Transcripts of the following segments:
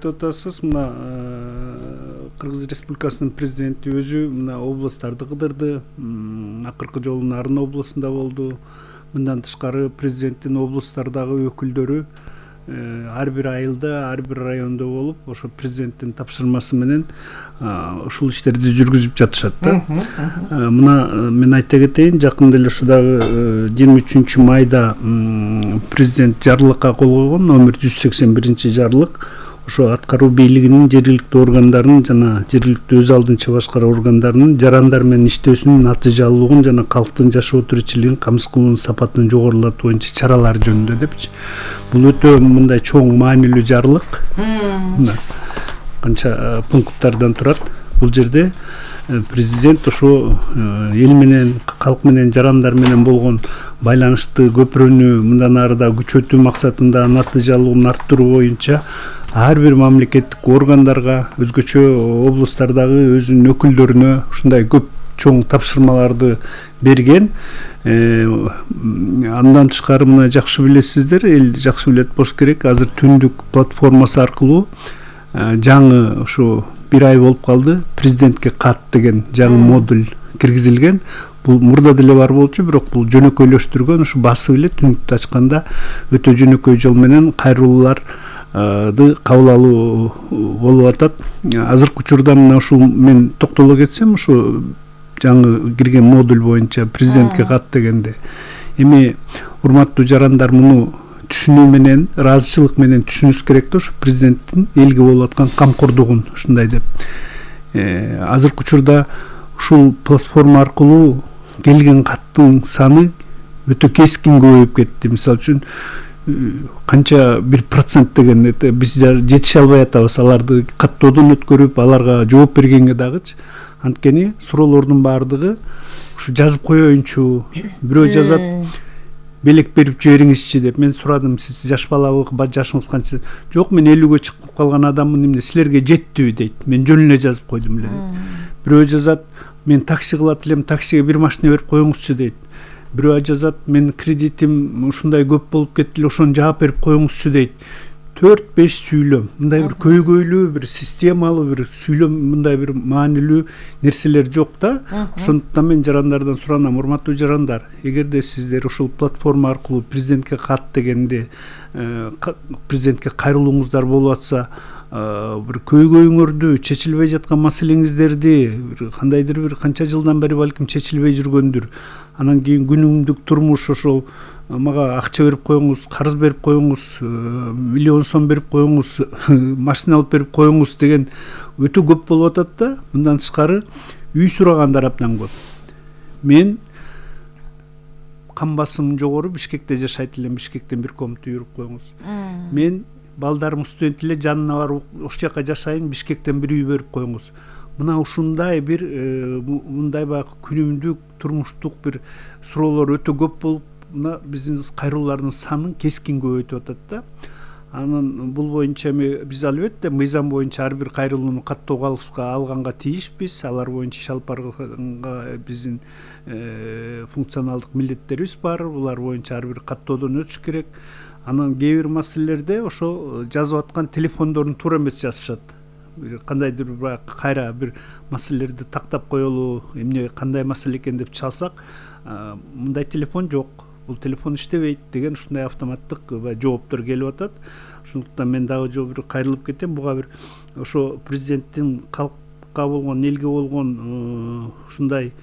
Атасыз мына Кыргыз Республикасынын президенти өзү мына областтарды кыдырды. Акыркы жолу Нарын областында болду. Мындан тышкары президенттин областтардагы өкүлдөрү ар бир айылда, ар бир райондо болуп, ошо президенттин тапшырмасы менен ушул иштерди жүргүзүп жатышат да. Мына мен айта кетейин, жакында эле ушудагы 23 майда президент жарлыкка кол койгон, номер 181 жарлык. Ошо аткаруу бийлигинин жергиликтүү органдарынын жана жергиликтүү өз алдынча башкаруу органдарынын жарандар менен иштөөсүнүн натыйжалуулугун жана калктын жашоо тиричилигин камсыз кылуунун сапатын жогорулатуу боюнча чаралар жөнүндө депчи. Бул өтө мындай чоң маанилүү жарлык. Канча пункттардан турат. Бул жерде президент ошо эл менен, калк менен, жарандар менен болгон байланышты көпүрөнү мындан ары да күчөтүү максатында натыйжалуулугун арттыруу боюнча ар бир мамлекеттик органдарга, өзгөчө областтардагы өзүнүн өкүлдөрүнө ушундай көп чоң тапшырмаларды берген. Андан тышкары мына жакшы билесиздер, эл жакшы билет болуш керек. Азыр түндүк платформасы аркылуу жаңы ушу бир ай болуп калды, президентке кат деген жаңы модуль киргизилген. Бул мурда деле бар болчу, бирок бул жөнөкөйлөштүргөн, ушу басып эле түнүктү ачканда өтө жөнөкөй жол менен кайрылууларды кабыл алуу болуп атат. Азыркы учурда мына ушул мен токтоло кетсем, ушу жаңы кирген модуль боюнча президентке кат дегенде, эми урматтуу жарандар, муну түшүнүү менен, ыраазычылык менен түшүнүш керек да, ушу президенттин элге болуп аткан камкордугун ушундай деп. Азыркы учурда ушул платформа аркылуу келген каттын саны өтө кескин көбөйүп кетти. Мисалы үчүн канча 1% деген биз жетише албай атабыз аларды каттоодон өткөрүп, аларга жооп бергенге дагычы. Анткени суроолордун баардыгы ушу жазып коеюнчу, бирөө жазат, белек берип жибериңизчи деп. Мен сурадым, сиз жаш балабы, жашыңыз канча? Жок, мен 50ге чыгып калган адаммын, эмне силерге жеттиби дейт. Мен жөн эле жазып койдум эле дейт. Бирөө жазат, мен такси кылат элем, таксиге бир машина берип коюңузчу дейт. Бирөө жазат, мен кредитим ушундай көп болуп кетти эле, ошону жаап берип коюңузчу дейт. 4-5 сүйлөм, мындай бир көйгөйлүү, бир системалуу, бир сүйлөм, мындай бир маанилүү нерселер жок да. Ошондуктан мен жарандардан суранам, урматтуу жарандар, эгерде сиздер ушул платформа аркылуу президентке кат дегенде, президентке кайрылууңуздар болуп атса, бир көйгөйүңөрдү, чечилбей жаткан маселеңиздерди, кандайдыр бир канча жылдан бери балким чечилбей жүргөндүр. Анан кийин күнүмдүк турмуш, ошол мага акча берип коюңуз, карыз берип коюңуз, миллион сом берип коюңуз, машина алып берип коюңуз деген өтө көп болуп атат да. Мындан тышкары үй сурагандар абдан көп. Мен кан басымым жогору, Бишкекте жашайт элем, Бишкектен бир комната үй уруп коюңуз. Мен балдарым студент эле, жанына барып ошол жака жашайын, Бишкектен бир үй берип коюңуз. Мына ушундай бир мындай баягы күнүмдүк турмуштук бир суроолор өтө көп болуп, мына биздин кайрылуулардын санын кескин көбөйтүп атат да. Анан бул боюнча биз албетте мыйзам боюнча ар бир кайрылууну каттоого алганга тийишпиз. Алар боюнча иш алып барганга биздин функционалдык милдеттерибиз бар. Булар боюнча ар бир каттоодон өтүш керек. Анан кээ бир маселелерде ошо жазып аткан телефондорун туура эмес жазышат. Кандайдыр бир кайра бир маселелерди тактап коелу, эмне кандай маселе экен деп чалсак, мындай телефон жок, бул телефон иштебейт деген ушундай автоматтык жооптор келип атат. Ошондуктан мен дагы жол бир кайрылып кетем. Буга бир ошо президенттин калкка болгон, элге болгон ушундай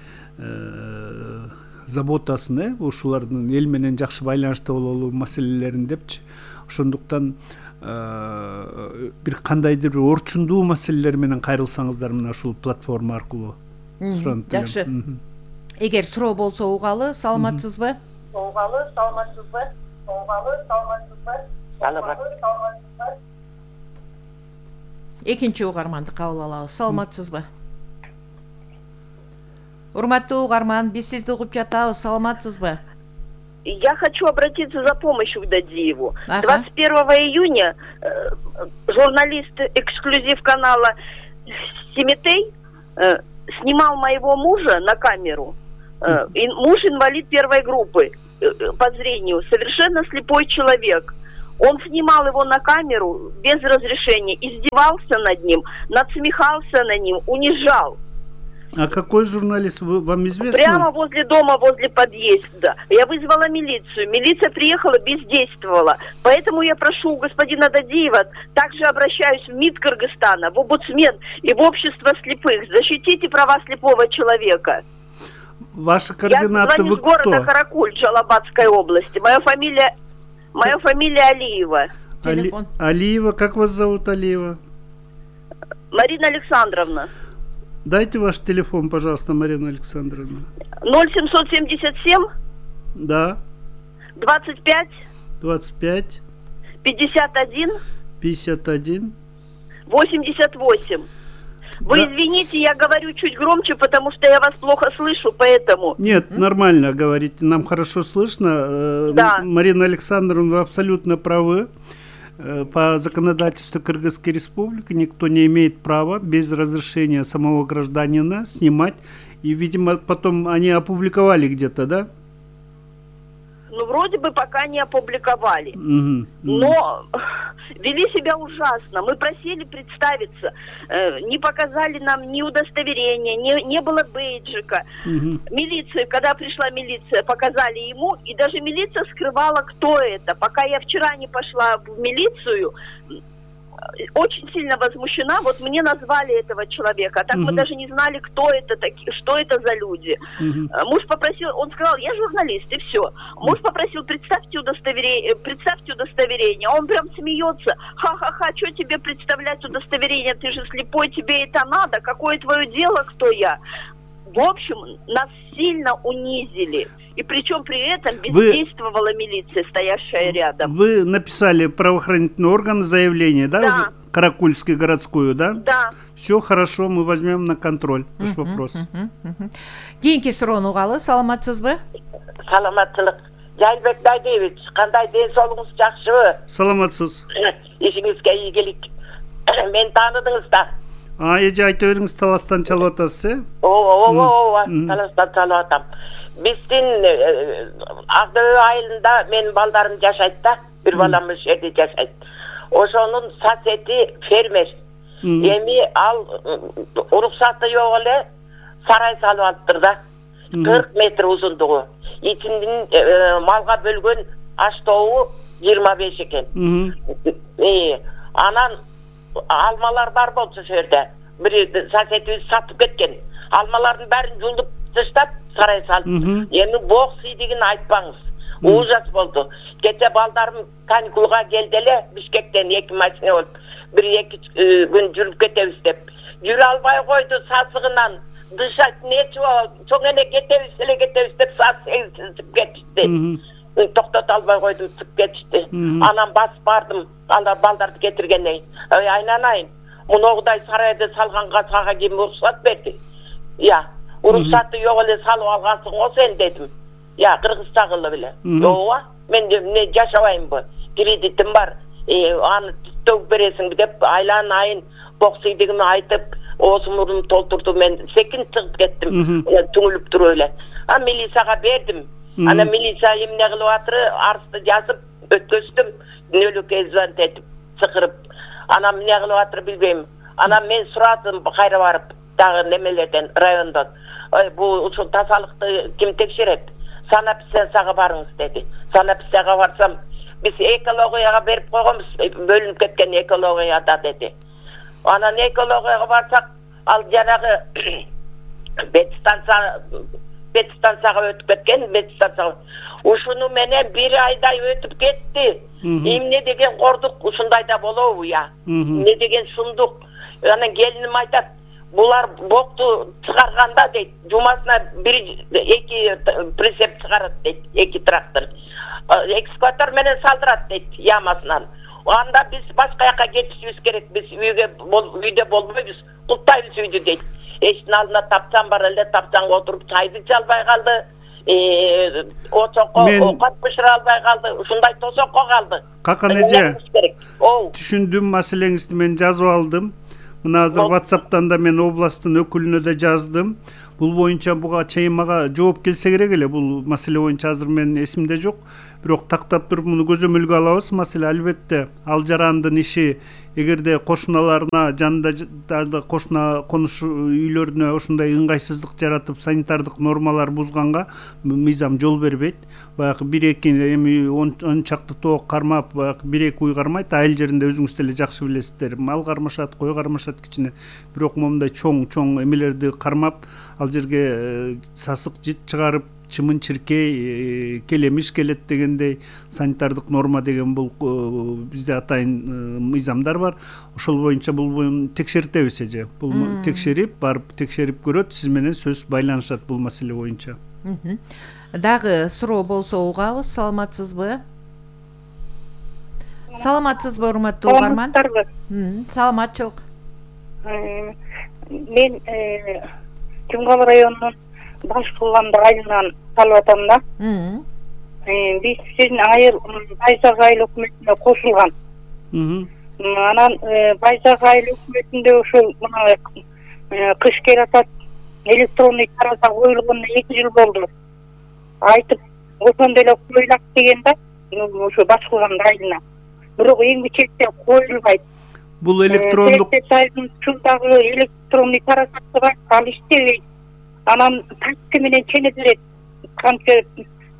заботасын, ушулардын эл менен жакшы байланышта бололу маселелерин депчи. Ошондуктан бир кандайдыр бир орчундуу маселелер менен кайрылсаңыздар мына ушул платформа аркылуу суранып элем. Жакшы. Эгер суроо болсо угалы, саламатсызбы? Саламатсызбы? Экинчи угарманды кабыл алабыз. Саламатсызбы? Урматтуу угарман, биз сизди угуп жатабыз. Саламатсызбы? Я хочу обратиться за помощью к Дадиеву. 21 июня журналист эксклюзив канала Семетей снимал моего мужа на камеру. Муж инвалид первой группы по зрению, совершенно слепой человек. Он снимал его на камеру без разрешения, издевался над ним, надсмехался над ним, унижал. А какой журналист, вам известно? Прямо возле дома, возле подъезда. Я вызвала милицию. Милиция приехала, бездействовала. Поэтому я прошу у господина Дадиева, также обращаюсь в МИД Кыргызстана, в омбудсмен и в общество слепых. Защитите права слепого человека. Ваши координаты, я вы из города кто? Каракуль, Джалабадской области. Моя фамилия Алиева. Телефон. Алиева, как вас зовут, Алиева? Марина Александровна. Дайте ваш телефон, пожалуйста, Марина Александровна. 0777 Да. 25 25 51 51 88. Вы Да. извините, я говорю чуть громче, потому что я вас плохо слышу, поэтому... Нет, нормально говорите, нам хорошо слышно. Да. Марина Александровна, вы абсолютно правы. По законодательству Кыргызской Республики никто не имеет права без разрешения самого гражданина снимать. И, видимо, потом они опубликовали где-то, да? Ну, вроде бы пока не опубликовали. Угу. Но вели себя ужасно. Мы просили представиться. Не показали нам ни удостоверения, не было бейджика. Угу. Милиция, когда пришла милиция, показали ему. И даже милиция скрывала, кто это. Пока я вчера не пошла в милицию, очень сильно возмущена. Вот мне назвали этого человека. А так мы даже не знали, кто это такие, что это за люди. Муж попросил, он сказал, я журналист, и все. Муж попросил, представьте удостоверение. Он прям смеется. Ха-ха-ха, что тебе представлять удостоверение? Ты же слепой, тебе это надо? Какое твое дело, кто я? В общем, нас сильно унизили. И причем при этом бездействовала милиция, стоящая рядом. Вы написали правоохранительный орган заявление, да? Да. Уже? Каракульскую городскую, да? Да. Все хорошо, мы возьмем на контроль ваш вопрос. Кийинки суроону угалы, саламатсызбы? Саламаттылык. Жайылбек Дайдиевич, кандай ден соолугуңуз жакшыбы? Саламатсыз. Ишиңизге ийгилик. Мен тааныдыңыз да. Эже айта бериңиз, Таластан чалып атасыз, э? Ооба, Таластан чалып атам. Биздин Ак-Дөбө айылында менин балдарым жашайт да, бир балам ошол жерде жашайт. Ошонун соседи фермер. Эми ал уруксаты жок эле сарай салып алыптыр да. 40 метр узундугу. Ичиндин малга бөлгөн аш-тообу 25 экен. Анан алмалар бар болчу ошол жерде. Бир соседибиз сатып кеткен. Алмалардын баарын жулдуп таштап сарай салып. Эми бок сыйдыгын айтпаңыз. Ужас болду. Кече балдарым каникулга келди эле Бишкектен 2 машина болуп. 1-2 күн жүрүп кетебиз деп. Жүрө албай койду сасыгынан. Дышать нечего, чоң эне кетебиз деп сасып кетишти. Токтото албай койдум, чыгып кетишти. Анан басып бардым, анда балдарды кетиргенден кийин. Ой, айнанайын. Муногудай сарайды салганга сага ким уруксат берди? Я, уруксаты жок эле салып алгансың го сен дедим. Я, кыргызча кылып эле. Ооба, мен эмне жашабаймбы? Кредитим бар. Аны төгүп бересиңби деп айланын айын бок сыйдыгымды айтып, оосумурумду толтурду, мен секин чыгып кеттим. Түңүлүп туруп эле. Милицияга бердим. Ана милиция эмне кылып атыр? Арызды жазып өткөздүм. Нөлөкөй звонить этип, чакырып. Ана эмне кылып атыр билбейм. Ана мен сурадым кайра барып, дагы немелерден, райондон. Ой, бул ушул тазалыкты ким текшерет? Санэпидстанцияга барыңыз деди. Санэпидстанцияга барсам, биз экологияга берип койгонбуз, бөлүнүп кеткен экологияда деди. Анан экологияга барсак, ал жанагы бет станцияга өтүп кеткен, бет станцияга. Ушуну менен 1 айдай өтүп кетти. Эмне деген кордук, ушундай да болобу я? Эмне деген сундук? Анан келиним айтат, булар бокту чыгарганда дейт, жумасына 1-2 прицеп чыгарат дейт, 2 трактор. Экскаватор менен салдырат дейт ямасынан. Анда биз башка жака кетишибиз керек. Биз үйдө болбойбуз, куттайбыз үйдү дейт. Эшиктин алдына тапчан бар эле, тапчанга отуруп чайды иче албай калды. Очокко овкат бышыра албай калды. Ушундай тосокко калды. Какан эже? Түшүндүм маселеңизди, мен жазып алдым. Мына азыр WhatsApp'тан да мен областтын өкүлүнө да жаздым. Бул боюнча буга чейин мага жооп келсе керек эле. Бул маселе боюнча азыр менин эсимде жок. Бирок тактап туруп муну көзөмөлгө алабыз. Маселе албетте ал жарандын иши эгерде кошуналарына жанында кошуна конуш үйлөрүнө ушундай ыңгайсыздык жаратып санитардык нормалар бузганга мыйзам жол бербейт. Баягы 1-2 эми 10 чакты тоок кармап, баягы 1-2 уй кармайт. Айыл жеринде өзүңүз деле жакшы билесиздер. Мал кармашат, кой кармашат кичине. Бирок момундай чоң эмелерди кармап, ал жерге сасык жит чыгарып, чымын-чиркей, келемиш келет дегендей санитардык норма деген бул бизде атайын мыйзамдар бар. Ошол боюнча бул текшертебиз эже. Бул текшерип, барып текшерип көрөт, сиз менен сөз байланышат бул маселе боюнча. Дагы суроо болсо угабыз. Саламатсызбы? Саламатсызбы, урматтуу угарман? Саламатчылык. Мен Жумгал районунун Башкуланды айылынан калып атам да. Биз сиздин Байзак айыл өкмөтүнө кошулган. Анан Байзак айыл өкмөтүндө ушул мына кыш келип атат, электронный тараза коюлгонуна 2 жыл болду. Айтып, ошондой эле коюлат деген да, ошо Башкуланды айылына. Бирок эң бичекте коюлбайт. Бул электрондук шундагы электронный таразасы бар, ал иштебейт. Анан тачка менен чене берет. Канча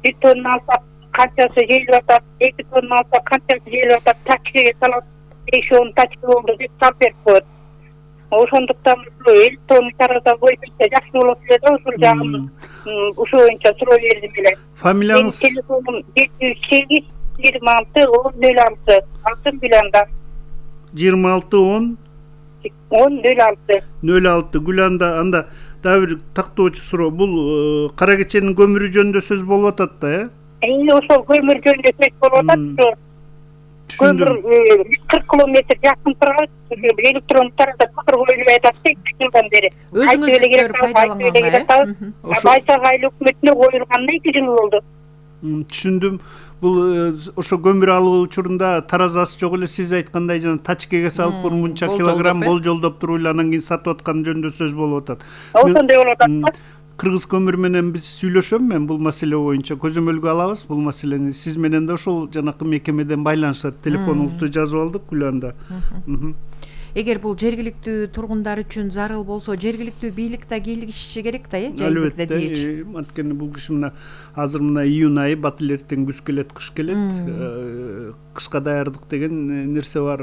1 тонна алсак, канчасы жейилип атат, 2 тонна алсак, канчасы жейилип атат, тачкага салат, 5-10 тачка болду деп салып берип коет. Ошондуктан электронный тараза боюнча жакшы болот эле да, ушул жагын ушул боюнча суроо бердим эле. Фамилияңыз? Телефонум 708 26 1006. Алтын Гүланда. 26 10 06 Гүланда. Анда дагы бир тактоочу суроо. Бул кара кеченин көмүрү жөнүндө сөз болуп атат да, ошол көмүр жөнүндө сөз болуп атат. Көмүр 40 километр жакын турат, электронный тараза көмүр коюлбай атат да, 2 жылдан бери. Өзүңүз пайдаланган. Байзак айыл өкмөтүнө коюлганына 2 жыл болду. Түшүндүм. Бул ошо көмүр алуу учурунда таразасы жок эле, сиз айткандай жана тачкага салып мынча килограмм болжолдоп туруп эле анан кийин сатып аткан жөнүндө сөз болуп атат. Ошондой болуп атат. Кыргыз көмүр менен биз сүйлөшөм мен бул маселе боюнча, көзөмөлгө алабыз бул маселени. Сиз менен да ошол жанакы мекемеден байланышат. Телефонуңузду жазып алдык Гүланда. Эгер бул жергиликтүү тургундар үчүн зарыл болсо, жергиликтүү бийлик да кийлигиши керек да, Албетте. Анткени бул киши мына азыр мына июнь айы, бат эле эртең күз келет, кыш келет. Кышка даярдык деген нерсе бар.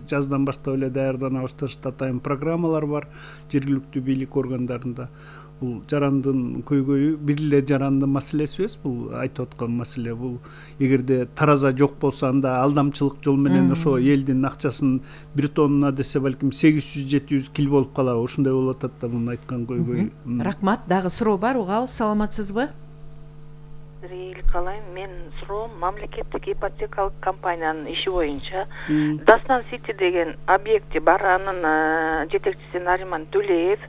Жаздан баштап эле даярдана башташат, атайын программалар бар жергиликтүү бийлик органдарында. Бул жарандын көйгөйү бир эле жарандын маселеси эмес, бул айтып аткан маселе. Бул эгерде тараза жок болсо, анда алдамчылык жол менен ошо элдин акчасын 1 тонна десе балким 800-700 кил болуп калабы, ушундай болуп атат да мунун айткан көйгөйү. Рахмат. Дагы суроо бар, угабыз. Саламатсызбы? Калайм, мен суроом мамлекеттик ипотекалык компаниянын иши боюнча Дастан Сити деген объекти бар, анын жетекчиси Нариман Төлеев.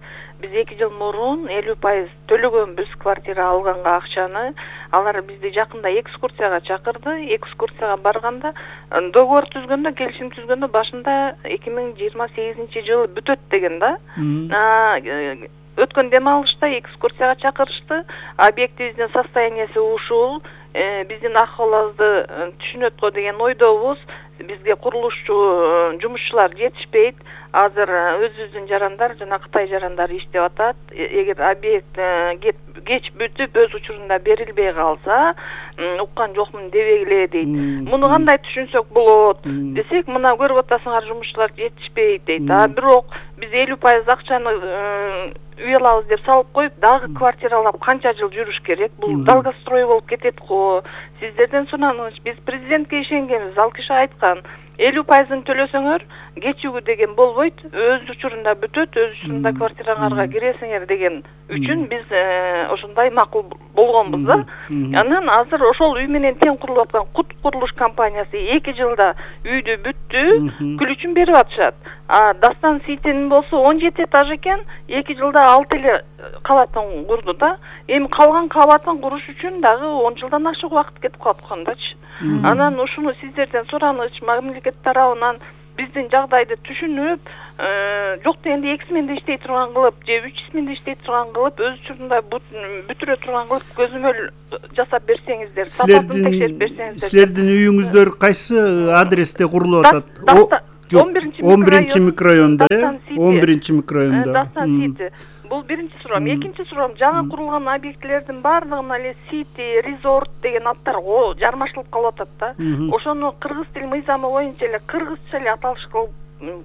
Биз 2 жыл мурун 50% төлөгөнбүз квартира алганга акчаны. Алар бизди жакында экскурсияга чакырды. Экскурсияга барганда договор түзгөндө, келишим түзгөндө башында 2028 жылы бүтөт деген да. Өткөн дем алышта экскурсияга чакырышты. Объектибиздин состояниясы ушул, биздин акыбыбызды түшүнөт го деген ойдобуз. Бизге курулушчу жумушчулар жетишпейт. Азыр өзүбүздүн жарандар жана Кытай жарандары иштеп атат. Эгер объект кеч бүтүп өз учурунда берилбей калса, уккан жокмун дебегиле дейт. Муну кандай түшүнсөк болот десек, мына көрүп атасыңар жумушчулар жетишпейт дейт. Бирок биз 50% акчаны үй алабыз деп салып коюп, дагы квартиралап канча жыл жүрүш керек? Бул долгострой болуп кетет го. Сиздерден сураныч, биз президентке ишенгенбиз, ал киши айткан, 50%-ын төлөсөңөр кечүүгү деген болбойт, өз учурунда бүтөт, өз учурунда квартираңарга киресиңер деген үчүн биз ошондой макул болгонбуз да. Анан азыр ошол үй менен тең курулуп аткан Кут курулуш компаниясы 2 жылда үйдү бүттү, күлүчүн берип атышат. Дастан Ситинин болсо 17 этаж экен, 2 жылда 6 эле кабатын курду да. Эми калган кабатын куруш үчүн дагы 10 жылдан ашык убакыт кетип калып аткандачы. Анан ушуну сиздерден сураныч, мамлекет тарабынан биздин жагдайды түшүнүп, жок дегенде 2 сменде иштей турган кылып же 3 сменде иштей турган кылып, өз учурунда бүтүрө турган кылып көзөмөл жасап берсеңиздер, сапасын текшерип берсеңиздер. Силердин үйүңүздөр кайсы адресте курулуп атат? 11 микрорайонда, 11 микрорайонда. Дастан Сити. Бул биринчи суроом. Экинчи суроом, жаңы курулган объектлердин баардыгына эле Сити, Resort деген аттар жармашылып калып атат да. Ошону кыргыз тил мыйзамы боюнча эле кыргызча эле аталыш кылып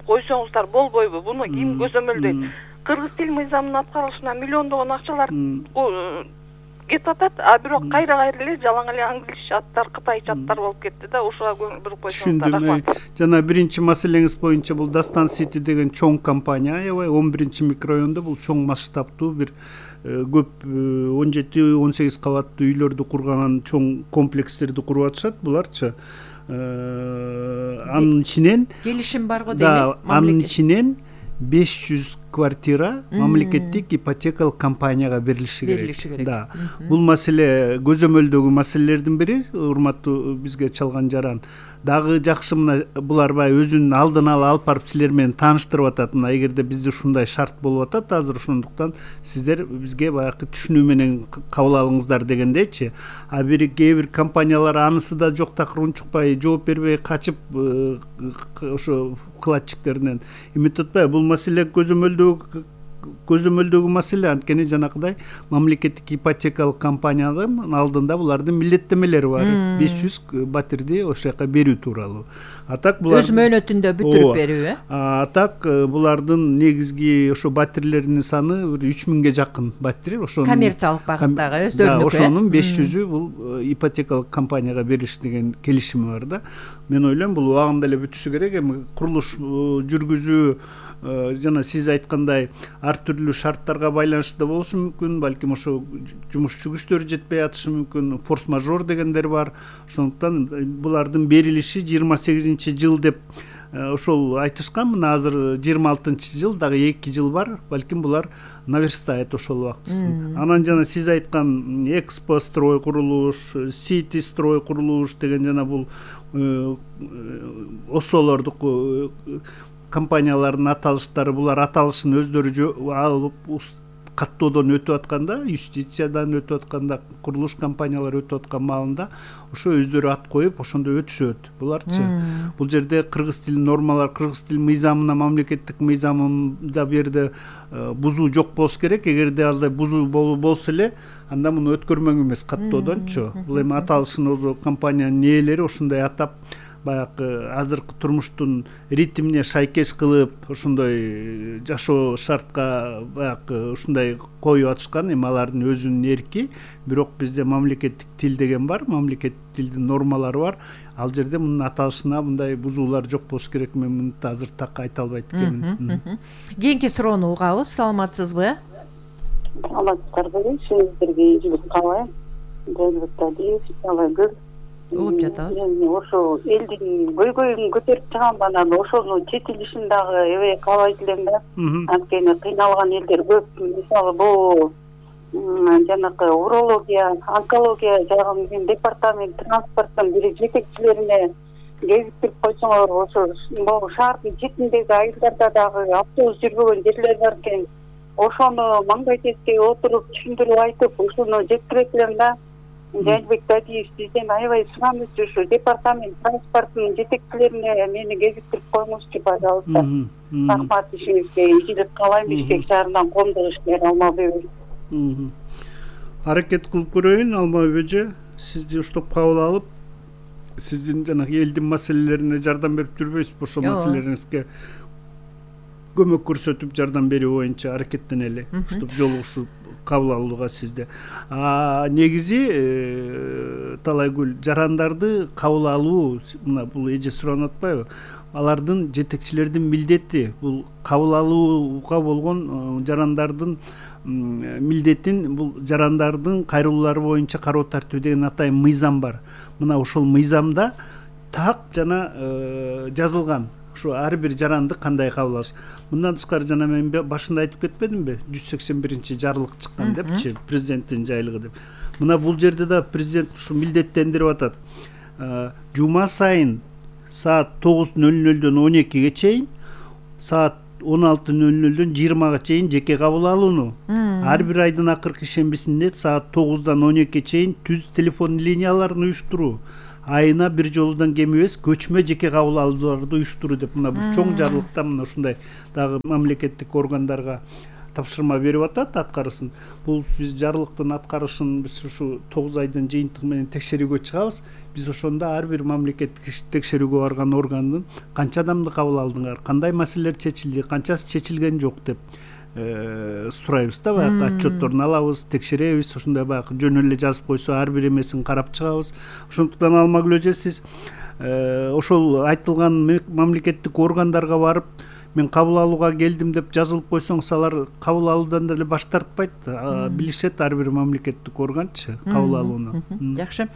койсоңуздар болбойбу? Буну ким көзөмөлдөйт? Кыргыз тил мыйзамынын аткарылышына миллиондогон акчалар кетип атат, а бирок кайра эле жалаң эле англисче аттар, кытайча аттар болуп кетти да. Ошого көңүл буруп койсоңуздар. Түшүндүм. Жана биринчи маселеңиз боюнча бул Дастан Сити деген чоң компания, аябай 11 микрорайонда бул чоң масштабтуу бир көп 17-18 кабаттуу үйлөрдү курган чоң комплекстерди куруп атышат. Буларчы анын ичинен келишим бар го дейм. Анын ичинен 500 квартира мамлекеттик ипотекалык компанияга берилиши керек. Да. Бул маселе көзөмөлдөгү маселелердин бири, урматтуу бизге чалган жаран. Дагы жакшы мына булар бай өзүнүн алдын ала алып барып силер менен тааныштырып атат. Мына эгерде бизде ушундай шарт болуп атат азыр, ошондуктан сиздер бизге баягы түшүнүү менен кабыл алыңыздар дегендечи. А кээ бир компаниялар анысы да жок такыр унчукпай, жооп бербей качып ошо вкладчиктеринен эметип атпайбы? Бул маселе көзөмөлдөгү маселе. Анткени жанакыдай мамлекеттик ипотекалык компаниянын алдында булардын милдеттемелери бар. 500 батирди ошол жака берүү тууралуу. Атак булар өз мөөнөтүндө бүтүрүп берүү, Атак булардын негизги ошо батирлеринин саны 3000ге жакын батир. Ошонун коммерциялык багыттагы өздөрүнүкү. Ошонун 500-ү бул ипотекалык компанияга бериш деген келишими бар да. Мен ойлойм бул убагында эле бүтүшү керек. Эми курулуш жүргүзүү жана сиз айткандай ар түрлүү шарттарга байланыштуу болушу мүмкүн, балким ошо жумушчу күчтөр жетпей атышы мүмкүн, форс-мажор дегендер бар. Ошондуктан булардын берилиши 28-жыл деп ошол айтышкан. Мына азыр 26-жыл, дагы 2 жыл бар. Балким булар наверстает ошол убактысын. Анан жана сиз айткан Экспо строй курулуш, Сити строй курулуш деген жана бул осолордуку компаниялардын аталыштары, булар аталышын өздөрү алып каттоодон өтүп атканда, юстициядан өтүп атканда, курулуш компаниялары өтүп аткан маалында ошо өздөрү ат коюп ошондо өтүшөт. Буларчы бул жерде кыргыз тил нормалар, кыргыз тил мыйзамына, мамлекеттик мыйзамында бу жерде бузуу жок болуш керек. Эгерде алдай бузуу болсо эле, анда муну өткөрмөң эмес каттоодончу. Бул эми аталышын өзү компаниянын ээлери ошондой атап, баягы азыркы турмуштун ритмине шайкеш кылып, ошондой жашоо шартка баягы ушундай коюп атышкан. Эми алардын өзүнүн эрки, бирок бизде мамлекеттик тил деген бар, мамлекеттик тилдин нормалары бар. Ал жерде мунун аталышына мындай бузуулар жок болуш керек. Мен муну азыр так айта албайт экенмин. Кийинки суроону угабыз. Саламатсызбы? Саламатсыздарбы? Сиздерге ийгилик каалайм. Угуп жатабыз. Ошо элдин көйгөйүн көтөрүп чыгам, анан ошону четилишин дагы эбей каалайт элем да. Анткени кыйналган элдер көп. Мисалы бул жанакы урология, онкология жагын департамент транспорттун бир жетекчилерине кезиктирип койсоңор, ошо могу шаардын четиндеги айылдарда дагы автобус жүрбөгөн жерлер бар экен. Ошону маңдай тескей отуруп түшүндүрүп айтып, ошону жеткирет элем да. Жанбек Дадиев сизден аябай сурамызчы, ушу департамент транспорттун жетекчилерине мени кезиктирип коюңузчу, пожалуйста. Рахмат, ишиңизге ийгилик каалайм. Бишкек шаарынан коомдук ишмер Алмабек. Аракет кылып көрөйүн, Алмабек эже. Сизди уштап кабыл алып, сиздин жанагы элдин маселелерине жардам берип жүрбөйсүзбү? Ошол маселелериңизге көмөк көрсөтүп жардам берүү боюнча аракеттенели. Уштап жолугушуп кабыл алууга сизде. Негизи Талайгүл, жарандарды кабыл алуу, мына бул эже суранып атпайбы? Алардын жетекчилердин милдети, бул кабыл алууга болгон жарандардын милдетин, бул жарандардын кайрылуулары боюнча кароо тартуу деген атайын мыйзам бар. Мына ошол мыйзамда так жана жазылган. Ошо ар бир жаранды кандай кабыл алыш. Мындан тышкары жана мен башында айтып кетпедимби? 181 жарлык чыккан депчи, президенттин жайлыгы деп. Мына бул жерде да президент ушу милдеттендирип атат. Жума сайын саат 9:00-дөн 12-ге чейин, саат 16:00-дөн 20-га чейин жеке кабыл алууну. Ар бир айдын акыркы шембисинде саат 9-дан 12-ге чейин түз телефон линияларын уюштуруу. Айына бир жолудан кем эмес көчмө жеке кабыл алууларды уюштуруу деп мына бул чоң жарлыкта мына ушундай дагы мамлекеттик органдарга тапшырма берип атат аткарысын. Бул биз жарлыктын аткарышын биз ушу 9 айдын жыйынтыгы менен текшерүүгө чыгабыз. Биз ошондо ар бир мамлекеттик текшерүүгө барган органдын канча адамды кабыл алдыңар, кандай маселелер чечилди, канчасы чечилген жок деп сурайбыз да, баягы отчетторун алабыз, текшеребиз, ошондой баягы жөн эле жазып койсо ар бир эмесин карап чыгабыз. Ошондуктан Алмагүл сиз ошол айтылган мамлекеттик органдарга барып мен кабыл алууга келдим деп жазылып койсоңуз, алар кабыл алуудан деле баш тартпайт, билишет ар бир мамлекеттик органчы кабыл алууну. Жакшы.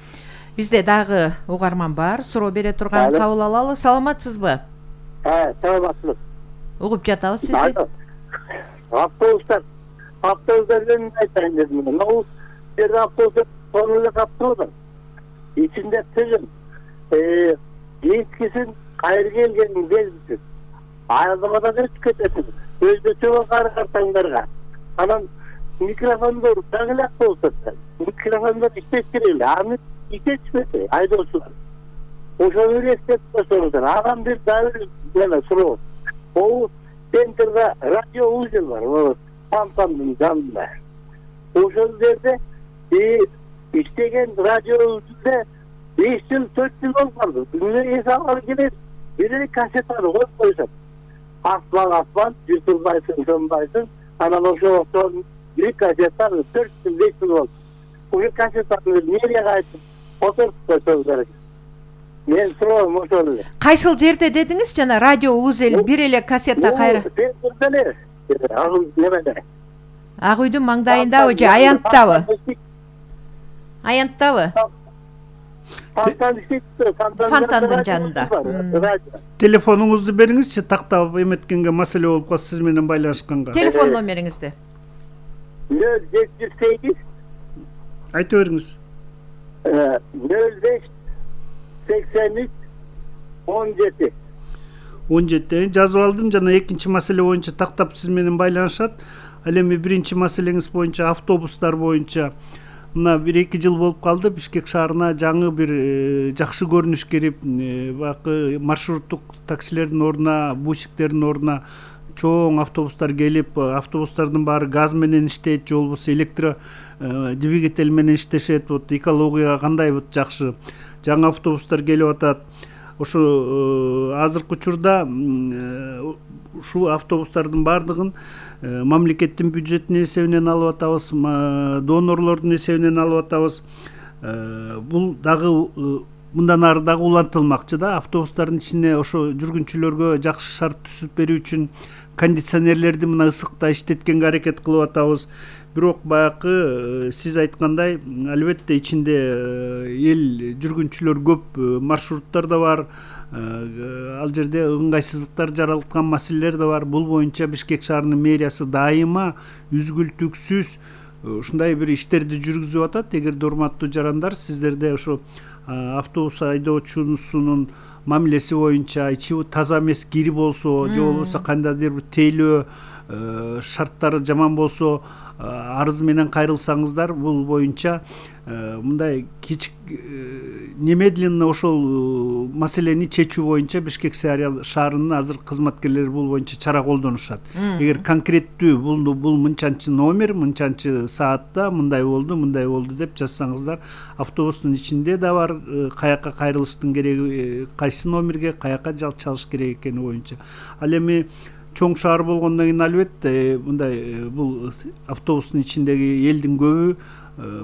Бизде дагы угарман бар, суроо бере турган, кабыл алалы. Саламатсызбы? Саламатсыз. Угуп жатабыз сизди. Автобустар жөнүндө айтайын дедим. Бул жерде автобустар тону эле каптырды. Ичинде тыгын, кийинкисин кайра келгенин белгисиз. Айылдамадан өтүп кетесиз. Өзбөчө картаңдарга. Анан микрофондор дагы эле автобустар. Микрофондор иштеш керек эле. Аны иштетпесе айдоочулар. Ошону эстеп койсоңуздар. Анан бир дагы эле суроо. Бул центрда радио узел бар, Пампамдын жанында. Ошол жерде иштеген радио узелде 5 жыл 4 жыл болуп калды. Күнүнө эс алгалы келет, бир кассетаны коюп койсот. Асман, жутулбайсың, сонбайсың. Анан ошол бир кассетаны 4 жыл 5 жыл болду. Ошол кассетаны мэрияга айтып, отуруп койсоңуздар. Мен суроом ошол эле. Кайсыл жерде дедиңиз жана радио узел бир эле кассета кайра? Ак үйдүн маңдайындабы же Аянттабы? Аянттабы? Фонтандын жанында. Телефонуңузду бериңизчи, тактап эметкенге маселе болуп калса сиз менен байланышканга. Телефон номериңизди. 0708 айта бериңиз. 05 83 17 17 жазып алдым. Жана экинчи маселе боюнча тактап сиз менен байланышат. Ал эми биринчи маселеңиз боюнча автобустар боюнча мына 1-2 жыл болуп калды. Бишкек шаарына жаңы бир жакшы көрүнүш кирип, баягы маршруттук таксилердин ордуна, бусиктердин ордуна чоң автобустар келип, автобустардын баары газ менен иштейт, же болбосо электро двигатель менен иштешет. Вот экологияга кандай жакшы жаңы автобустар келип атат. Ошо азыркы учурда ушул автобустардын баардыгын мамлекеттин бюджетинин эсебинен алып атабыз, донорлордун эсебинен алып атабыз. Бул дагы мындан ары дагы улантылмакчы да. Автобустардын ичине ошо жүргүнчүлөргө жакшы шарт түзүп берүү үчүн кондиционерлерди мына ысыкта иштеткенге аракет кылып атабыз. Бирок баягы сиз айткандай, албетте ичинде эл жүргүнчүлөр көп, маршруттар да бар. Ал жерде ыңгайсыздыктар жаралткан маселелер да бар. Бул боюнча Бишкек шаарынын мэриясы дайыма үзгүлтүксүз ушундай бир иштерди жүргүзүп атат. Эгерде урматтуу жарандар, сиздерде ошо автобус айдоочусунун мамилеси боюнча ичи таза эмес кири болсо, же болбосо кандайдыр бир тейлөө шарттары жаман болсо, арыз менен кайрылсаңыздар, бул боюнча мындай кичик немедленно ошол маселени чечүү боюнча Бишкек шаарынын азыр кызматкерлери бул боюнча чара колдонушат. Эгер конкреттүү бул мынчанчы номер, мынчанчы саатта мындай болду деп жазсаңыздар, автобустун ичинде да бар каяка кайрылыштын кереги, кайсы номерге каяка жал чалыш керек экени боюнча. Ал эми чоң шаар болгондон кийин албетте мындай бул автобустун ичиндеги элдин көбү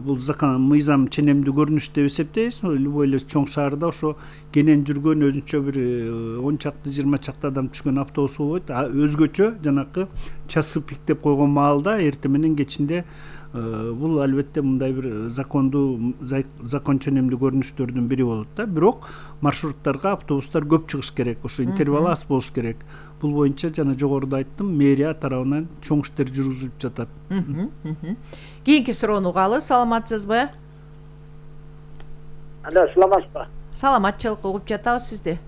бул мыйзам ченемдүү көрүнүш деп эсептейбиз. Любой эле чоң шаарда ошо кенен жүргөн өзүнчө бир 10 чакты 20 чакты адам түшкөн автобус болбойт. Өзгөчө жанакы часы пик деп койгон маалда эртең менен кечинде бул албетте мындай бир закон ченемдүү көрүнүштөрдүн бири болот да. Бирок маршруттарга автобустар көп чыгыш керек, ошо интервал аз болуш керек. Бул боюнча жана жогоруда айттым, мэрия тарабынан чоң иштер жүргүзүлүп жатат. Кийинки суроону угалы. Саламатсызбы? Алло, саламатсызбы? Саламатчылык, угуп жатабыз сизди.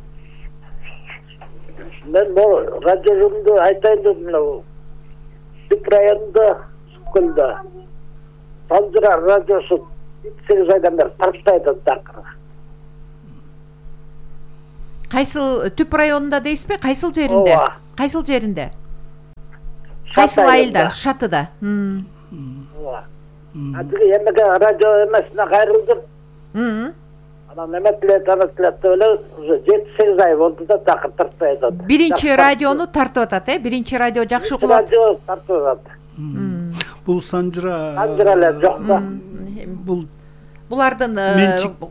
мен бул радиомду айтайын деп мына Түп районунда Сүткөлдө Санжыра радиосу 8 айдан бери тартпайт такыр. Кайсыл Түп районунда дейсизби? Кайсыл жеринде? Ооба. Кайсыл жеринде? Кайсыл айылда? Шатыда. Ооба. Атыгы эмеге радио эмесине кайрылдым. Анан эметилет деп эле уже 7-8 ай болду да такыр тартпай атат. Биринчи радиону тартып атат, Биринчи радио жакшы угулат. Радио тартып атат. Бул Санжыра эле жок да. Бул Булардын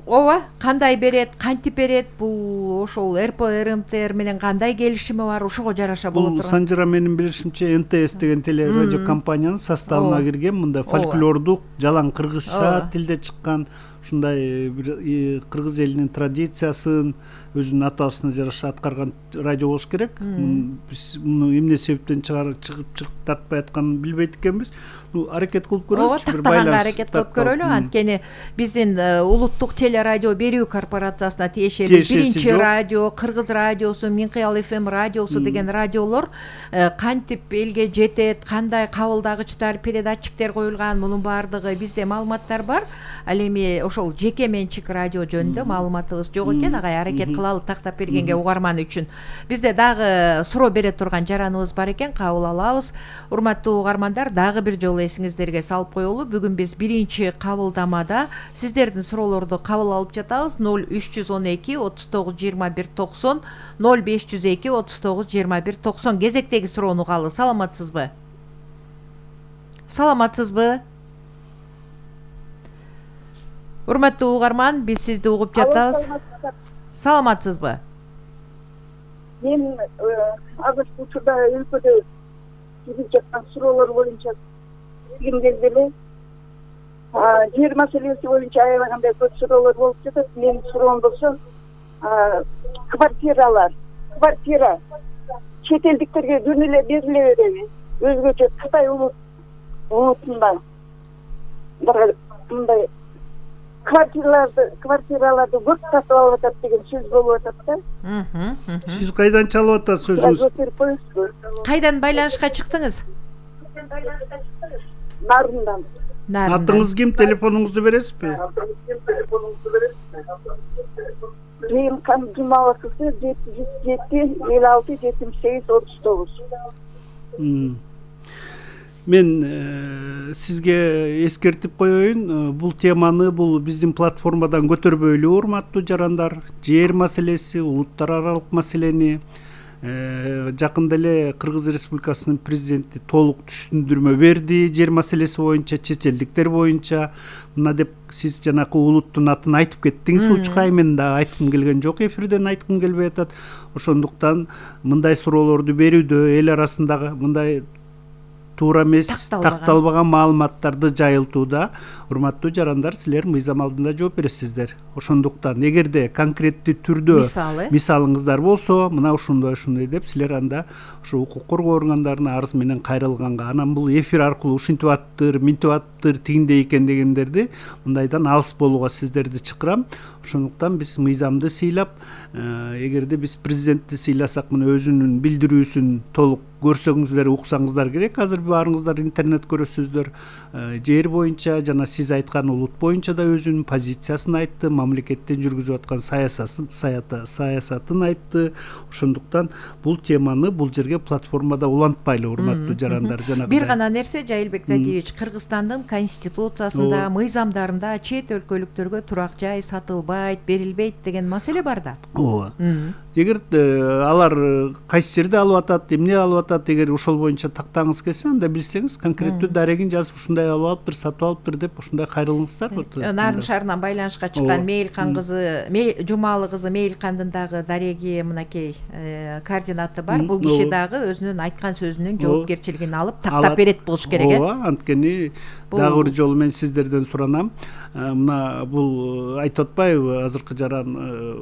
ооба кандай берет, кантип берет, бул ошол РП РМТР менен кандай келишими бар, ошого жараша болот. Бул Санжыра менин билишимче НТС деген теле радио компаниянын составына кирген, мында фольклордук, жалаң кыргызча тилде чыккан ушундай бир кыргыз элинин традициясын өзүнүн аталышына жараша аткарган радио болуш керек. Биз муну эмне себептен чыгып тартпай атканын билбейт экенбиз. Аракет кылып көрөлүчү, бир байланыш аракет кылып көрөлү. Анткени биздин улуттук теле радио берүү корпорациясына тиешелүү биринчи радио, Кыргыз радиосу, Минкыял ФМ радиосу деген радиолор кантип элге жетет, кандай кабылдагычтар, передатчиктер коюлган, мунун баардыгы бизде маалыматтар бар. Ал эми ошол жеке менчик радио жөнүндө маалыматыбыз жок экен. Агай аракет кылалы тактап бергенге угарман үчүн. Бизде дагы суроо бере турган жараныбыз бар экен, кабыл алабыз. Урматтуу угармандар, дагы бир жолу эсиңиздерге салып коелу. Бүгүн биз биринчи кабылдамада сиздердин суроолорду кабыл алып жатабыз. 0312 39 21 90 0502 39 21 90 кезектеги суроону угалы. Саламатсызбы? Саламатсызбы? Урматтуу угарман, биз сизди угуп жатабыз. Саламатсызбы? Мен азыркы учурда өлкөдө чыгып жаткан суроолор боюнча билгим келди эле. Жер маселеси боюнча аябагандай көп суроолор болуп жатат. Менин суроом болсо, квартира чет элдиктерге жөн эле бериле береби? Өзгөчө Кытай улутунда мындай квартираларды көп сатып алып атат деген сөз болуп атат да. Сиз кайдан чалып атасыз сөзүңүз? Кайдан байланышка чыктыңыз? Нарындан. Атыңыз ким? Телефонуңузду бересизби? Реймкан Жумала кызы 707 56 78 39. Мен сизге эскертип коеюн, бул теманы биздин платформадан көтөрбөйлү, урматтуу жарандар. Жер маселеси, улуттар аралык маселени жакында эле Кыргыз Республикасынын президенти толук түшүндүрмө берди. Жер маселеси боюнча, чет элдиктер боюнча мына деп сиз жанакы улуттун атын айтып кеттиңиз. Учкай мен да айткым келген жок, эфирден айткым келбей атат. Ошондуктан мындай суроолорду берүүдө эл арасындагы мындай туура эмес, такталбаган маалыматтарды жайылтууда урматтуу жарандар, силер мыйзам алдында жооп бересиздер. Ошондуктан эгерде конкреттүү түрдө мисалыңыздар болсо, мына ушундай деп силер анда ушу укук коргоо органдарына арыз менен кайрылганга, анан бул эфир аркылуу ушинтип аттыр, минтип аттыр, тигиндей экен дегендерди мындайдан алыс болууга сиздерди чакырам. Ошондуктан биз мыйзамды сыйлап, эгерде биз президентти сыйласак, мына өзүнүн билдирүүсүн толук көрсөңүздөр, уксаңыздар керек. Азыр баарыңыздар интернет көрөсүздөр. Жер боюнча жана сиз айткан улут боюнча да өзүнүн позициясын айтты, мамлекеттен жүргүзүп аткан саясатын айтты. Ошондуктан бул теманы бул жерге платформада улантпайлы, урматтуу жарандар. Бир гана нерсе, Жайылбек Дадиевич, Кыргызстандын конституциясында, мыйзамдарында чет өлкөлүктөргө турак жай сатылбайт, берилбейт деген маселе бар да. Ооба. Эгер алар кайсы жерде алып атат, эмне алып атат, эгер ошол боюнча тактагыңыз келсе, анда билсеңиз конкреттүү дарегин жазып, ушундай алып алыптыр, сатып алыптыр деп ушундай кайрылыңыздар. Нарын шаарынан байланышка чыккан Мейлкан кызы, Жумалы кызы Мейлкандын дагы дареги мынакей координаты бар. Бул киши дагы өзүнүн айткан сөзүнүн жоопкерчилигин алып тактап берет болуш керек. Ооба, анткени дагы бир жолу мен сиздерден суранам. Мына бул айтып атпайбы, азыркы жаран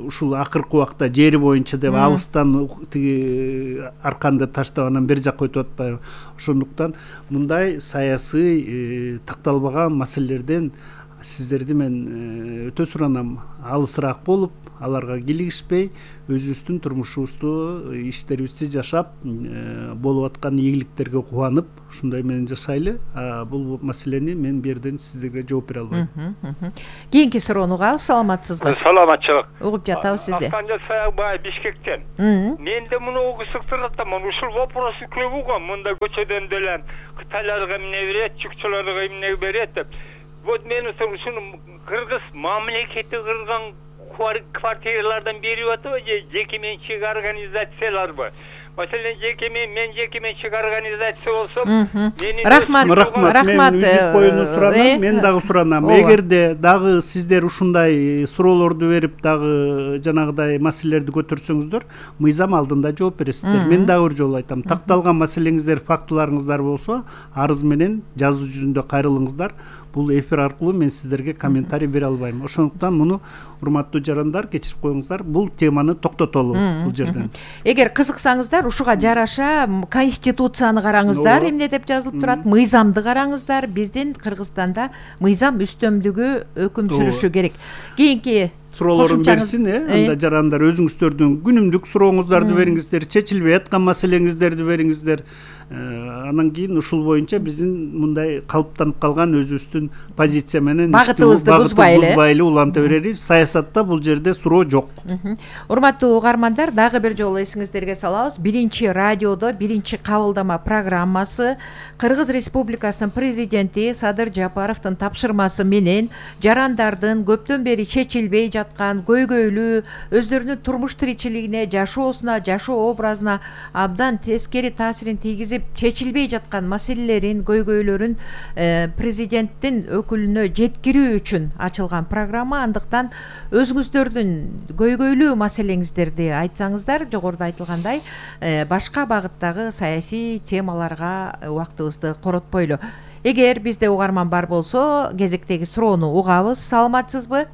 ушул акыркы убакта жери боюнча деп алыстан тиги арканды таштап анан бер жакка өтүп атпайбы. Ошондуктан мындай саясий такталбаган маселелерден сиздерди мен өтө суранам, алысыраак болуп, аларга килигишпей, өзүбүздүн турмушубузду, иштерибизди жашап, болуп аткан ийгиликтерге кубанып, ушундай менен жашайлы. Бул маселени мен бу жерден сиздерге жооп бере албайм. Кийинки суроону угабыз. Саламатсызбы? Саламатчылык. Угуп жатабыз сизди. Акканжа Саякбаев Бишкектен. Менде муну кызыктырат да, ушул вопросу көп го. Мында көчөдөн деле Кытайларга эмне берет, чукчуларга эмне берет деп. Вот мен ушуну кыргыз мамлекети кырган квартиралардан берип атабы же жеке менчик организацияларбы? Маселен мен жеке менчик организация болсом, рахмат. Мен үзүп коюуну суранам, мен дагы суранам. Эгерде дагы сиздер ушундай суроолорду берип, дагы жанагыдай маселелерди көтөрсөңүздөр, мыйзам алдында жооп бересиздер. Мен дагы бир жолу айтам, такталган маселеңиздер, фактыларыңыздар болсо, арыз менен жазуу жүзүндө кайрылыңыздар. Бул эфир аркылуу мен сиздерге комментарий бере албайм. Ошондуктан муну урматтуу жарандар кечирип коюңуздар. Бул теманы токтотолу бул жерден. Эгер кызыксаңыздар, ушуга жараша конституцияны караңыздар, эмне деп жазылып турат, мыйзамды караңыздар. Биздин Кыргызстанда мыйзам үстөмдүгү өкүм сүрүшү керек. Кийинки суроолорун берсин, анда жарандар өзүңүздөрдүн күнүмдүк сурооңуздарды бериңиздер, чечилбей аткан маселеңиздерди бериңиздер. Анан кийин ушул боюнча биздин мындай калыптанып калган өзүбүздүн позиция менен багытыбызды бузбайлы уланта беребиз. Саясатта бул жерде суроо жок. Урматтуу угармандар, дагы бир жолу эсиңиздерге салабыз. Биринчи радиодо биринчи кабылдама программасы Кыргыз Республикасынын президенти Садыр Жапаровдун тапшырмасы менен жарандардын көптөн бери чечилбей жаткан көйгөйлүү, өздөрүнүн турмуш тиричилигине, жашоосуна, жашоо образына абдан тескери таасирин тийгизип, чечилбей жаткан маселелерин, көйгөйлөрүн президенттин өкүлүнө жеткирүү үчүн ачылган программа. Андыктан өзүңүздөрдүн көйгөйлүү маселеңиздерди айтсаңыздар, жогоруда айтылгандай, башка багыттагы саясий темаларга убактыбызды коротпойлу. Эгер бизде угарман бар болсо, кезектеги суроону угабыз. Саламатсызбы?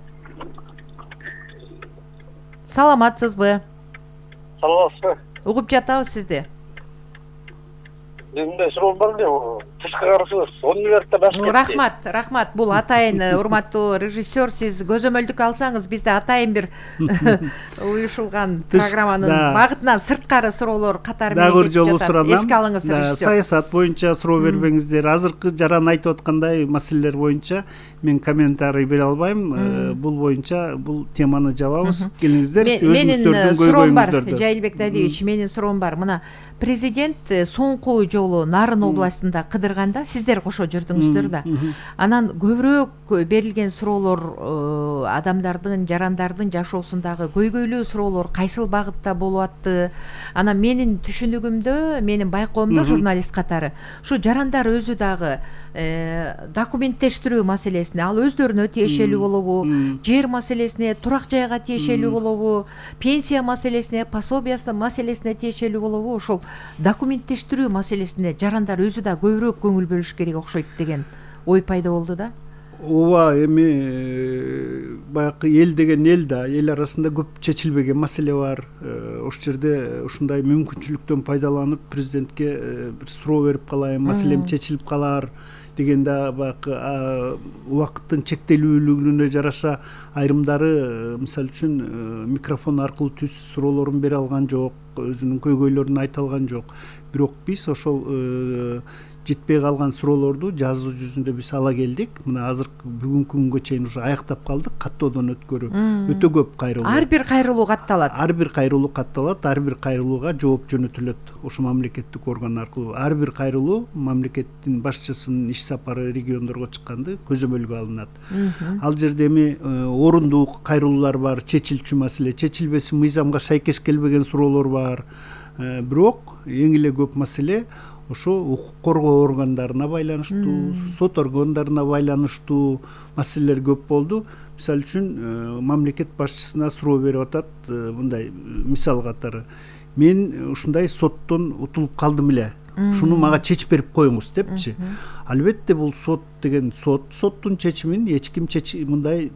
Саламатсызбы? Угуп жатабыз сизди. Менде суроо бар эле, тышкы карасыз, 10 минутта башка. Рахмат. Бул атайын урматтуу режиссер, сиз көзөмөлдүк алсаңыз, бизде атайын бир уюшулган программанын багытынан сырткары суроолор катары менен кетип жатат. Эске алыңыз, режиссер. Саясат боюнча суроо бербеңиздер. Азыркы жаран айтып аткандай маселелер боюнча мен комментарий бере албайм. Бул боюнча бул теманы жабабыз. Келиңиздер, өзүңүздөрдүн көйгөйүңүздөрдү. Жайылбек Тадиевич, менин суроом бар. Мына президент соңку жолу Нарын областында кыдырганда сиздер кошо жүрдүңүздөр да. Анан көбүрөөк берилген суроолор адамдардын, жарандардын жашоосундагы көйгөйлүү суроолор кайсыл багытта болуп атты? Анан менин түшүнүгүмдө, менин байкоомдо журналист катары ушу жарандар өзү дагы документтештирүү маселесине, ал өздөрүнө тиешелүү болобу, жер маселесине, турак жайга тиешелүү болобу, пенсия маселесине, пособие маселесине тиешелүү болобу, ошол документтештирүү маселесине жарандар өзү да көбүрөөк көңүл бөлүш керек окшойт деген ой пайда болду да. Ооба, эми баягы эл деген эл да, эл арасында көп чечилбеген маселе бар. Ошол жерде ушундай мүмкүнчүлүктөн пайдаланып президентке бир суроо берип калайын, маселем чечилип калар дегенде баягы убакыттын чектелүүлүгүнө жараша айрымдары мисалы үчүн микрофон аркылуу түз суроолорун бере алган жок, өзүнүн көйгөйлөрүн айта алган жок. Бирок биз ошол жетпей калган суроолорду жазуу жүзүндө биз ала келдик. Мына азыркы бүгүнкү күнгө чейин уже аяктап калдык. Каттоодон өткөрүү өтө көп кайрылуу. Ар бир кайрылуу катталат. Ар бир кайрылууга жооп жөнөтүлөт ошо мамлекеттик орган аркылуу. Ар бир кайрылуу мамлекеттин башчысынын иш сапары региондорго чыкканда көзөмөлгө алынат. Ал жерде эми орундуу кайрылуулар бар, чечилчү маселе, чечилбеси мыйзамга шайкеш келбеген суроолор бар. Бирок эң эле көп маселе ошо укук коргоо органдарына байланыштуу, сот органдарына байланыштуу маселелер көп болду. Мисалы үчүн мамлекет башчысына суроо берип атат, мындай мисал катары. Мен ушундай соттон утулуп калдым эле. Шуну мага чечип берип коюңуз депчи. Албетте бул сот деген соттун чечимин эч ким мындай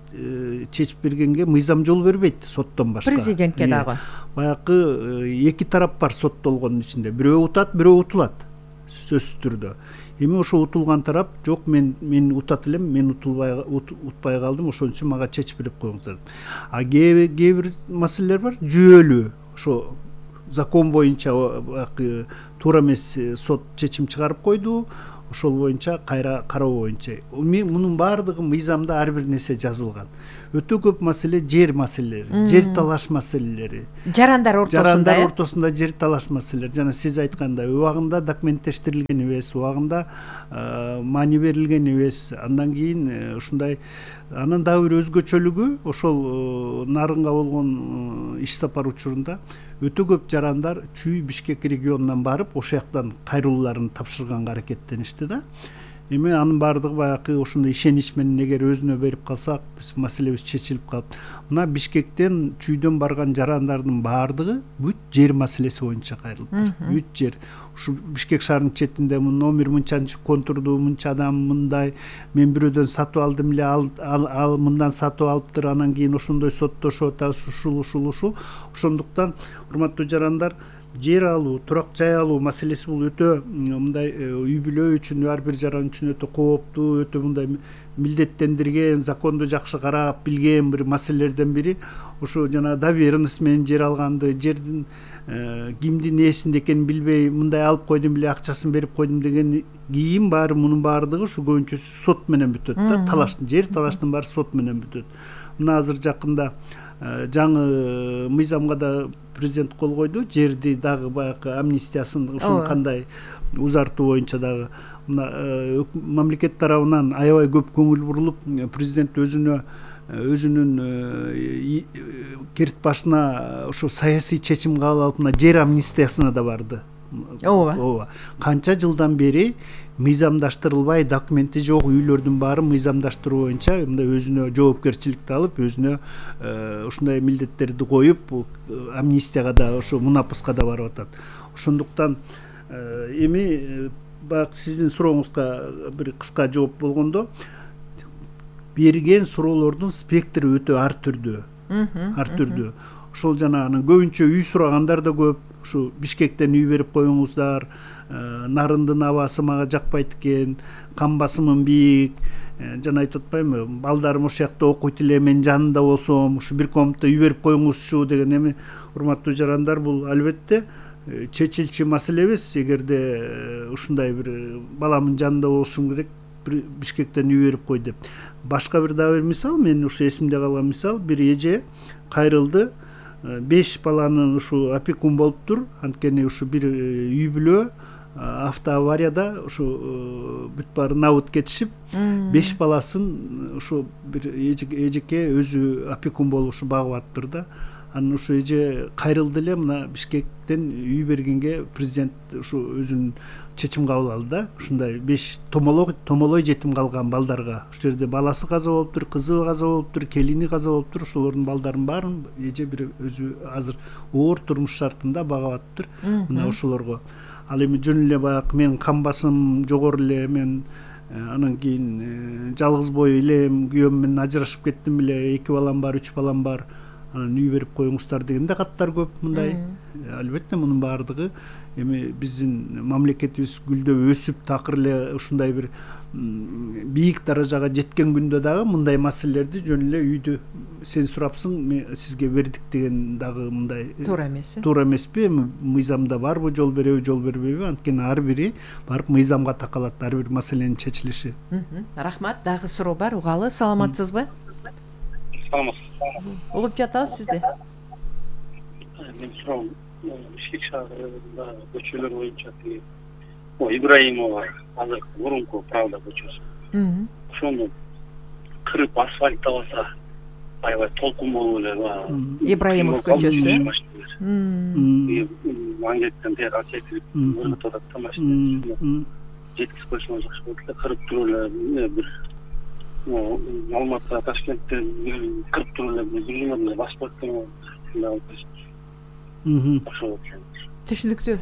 чечип бергенге мыйзам жол бербейт соттон башка. Президентке дагы. Баягы эки тарап бар соттолгондун ичинде. Бирөө утат, бирөө утулат. сөзсүз түрдө. Эми ошо утулган тарап жок, мен утат элем, мен утпай калдым, ошон үчүн мага чечип берип коюңуздар. А кээ бир маселелер бар, жүйөлүү, ошо закон боюнча туура эмес сот чечим чыгарып койду, ошол боюнча кайра кароо боюнча. Мунун баардыгы мыйзамда ар бир нерсе жазылган. Өтө көп маселе жер маселелери, жер талаш маселелери. Жарандар ортосунда жер талаш маселелери. Жана сиз айткандай, убагында документтештирилген эмес, убагында маани берилген эмес. Андан кийин ушундай, анан дагы бир өзгөчөлүгү, ошол нарынга болгон иш сапар учурунда өтө көп жарандар Чүй Бишкек регионунан барып, ошол жактан кайрылууларын тапшырганга аракеттеништи да. Эми анын баардыгы баягы ошондой ишенич менен эгер өзүнө берип калсак, биз маселебиз чечилип калат. Мына Бишкектен, Чүйдөн барган жарандардын баардыгы бүт жер маселеси боюнча кайрылыптыр. Бүт жер. Ушу Бишкек шаарынын четинде номер мынчанчы контурду, мынча адам мындай, мен бирөөдөн сатып алдым эле, ал мындан сатып алыптыр, анан кийин ошондой соттошот, ушул. Ошондуктан, урматтуу жарандар, жер алуу, турак жай алуу маселеси бул өтө мындай үй бүлө үчүн, ар бир жаран үчүн өтө кооптуу, өтө мындай милдеттендирген, законду жакшы карап билген бир маселелерден бири. Ошо жана доверенность менен жер алганды, жердин кимдин ээсинде экенин билбей, мындай алып койдум эле, акчасын берип койдум деген кийин баары, мунун баардыгы ушу көбүнчөсү сот менен бүтөт да. Жер талаштын баары сот менен бүтөт. Мына азыр жакында жаңы мыйзамга да президент кол койду, жерди дагы баягы амнистиясын ушуну кандай узартуу боюнча дагы мына мамлекет тарабынан аябай көп көңүл бурулуп, президент өзүнүн керт башына ошо саясий чечим кабыл алып, мына жер амнистиясына да барды. Ооба. Канча жылдан бери мыйзамдаштырылбай, документи жок үйлөрдүн баары мыйзамдаштыруу боюнча мындай өзүнө жоопкерчиликти алып, өзүнө ушундай милдеттерди коюп, амнистияга да, ошо мунапуска да барып атат. Ошондуктан эми баягы сиздин сурооңузга бир кыска жооп болгондо, берген суроолордун спектри өтө ар түрдүү. Ошол жана анын көбүнчө үй сурагандар да көп. Ушу Бишкектен үй берип коюңуздар, нарындын абасы мага жакпайт экен, кан басымым бийик, жана айтып атпаймынбы, балдарым ошол жакта окуйт эле, мен жанында болсом, ушу бир комнатта үй берип коюңузчу деген. Эми урматтуу жарандар, бул албетте чечилчү маселе эмес. Эгерде ушундай бир баламдын жанында болушум керек, Бишкектен үй берип кой деп. Башка бир дагы бир мисал, мен ушу эсимде калган мисал, бир эже кайрылды, 5 баланын ушу опекун болуптур. Анткени ушу бир үй бүлө автоаварияда ушу бүт баары набыт кетишип, 5 баласын ушу бир эжеке өзү опекун болуп ушу багып атыптыр да. Анан ушу эже кайрылды эле, мына Бишкектен үй бергенге президент ушу өзүнүн чечим кабыл алды да. Ушундай 5 томолой жетим калган балдарга, ушул жерде баласы каза болуптур, кызы каза болуптур, келини каза болуптур, ошолордун балдарын баарын эже бир өзү азыр оор турмуш шартында багып атыптыр. Мына ошолорго. Ал эми жөн эле баягы менин кан басым жогору эле, мен анан кийин жалгыз бой элем, күйөөм менен ажырашып кеттим эле, 2 балам бар, 3 балам бар, анан үй берип коюңуздар дегенде каттар көп мындай. Албетте мунун баардыгы эми биздин мамлекетибиз гүлдөп өсүп, такыр эле ушундай бир бийик даражага жеткен күндө дагы мындай маселелерди жөн эле үйдү сен сурапсың, мен сизге бердик деген дагы мындай туура эмеспи? Эми мыйзамда барбы, жол береби, жол бербейби? Анткени ар бири барып мыйзамга такалат, ар бир маселенин чечилиши. Рахмат. Дагы суроо бар, угалы. Саламатсызбы? Саламатсыз. Угуп жатабыз сизди. Мен суроом, Бишкек шаарында көчөлөр боюнча Ибраимова азыр мурунку Правда көчөсү. Ошону кырып асфальттабаса аябай толкун болуп эле. Ибраимов көчөсү. Мангеттен тияга чекирип өргөт атат да машина. Жеткиз койсоң жакшы болот эле, кырып туруп эле бир Алматы, Ташкентте кырып туруп эле бир жумадан басып кеткен. Түшүнүктүү.